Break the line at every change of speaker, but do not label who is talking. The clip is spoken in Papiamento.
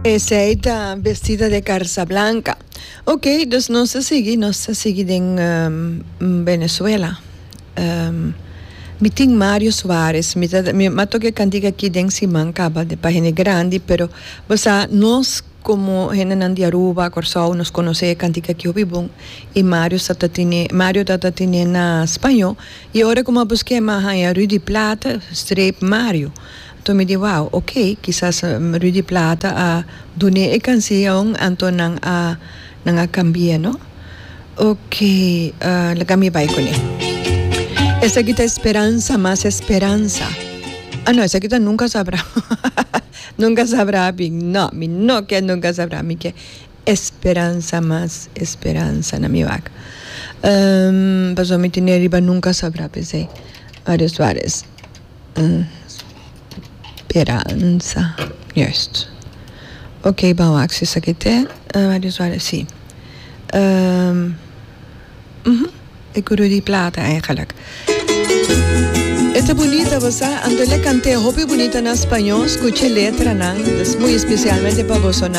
Esey ta Vestida de Carza Blanca. Ok, dus nos ta sigui, nos ta sigui den Venezuela. Mi tin Mario Suarez, mi ta, mi a toca e cantica aki den siman caba pa hende grandi, pero bo sa nos como hendenan di Aruba, Corsou, nos conoce e cantica aki hopi bon y Mario sa ta tene, Mario ta ta tene na spaño y ora cu mi a busque mi a haya Rudy Plata streep Mario. Anto mi di wow, ok, kisas Rudy Plata a dun'é e canción anto nan a nan a cambi'é no. Ok, laga mi bai kuné. Esaki ta Esperanza mas esperanza. Ah no, esaki ta Nunca Sabrá. Nunca Sabrá mi no, mi no ke Nunca Sabrá, mi ke Esperanza mas esperanza na mi wak. Pasobra mi tene riba Nunca Sabrá p'esei. Mario Suarez. Speranza, juist. Ok, ban wak si esaki te Mario Suarez, si. E ku Rudy Plata eigenlijk. E ta bunita bo sa, anto el a kant'é hopi bunita na spañó, skucha e letranan, dus muy especialmente pa bosonan.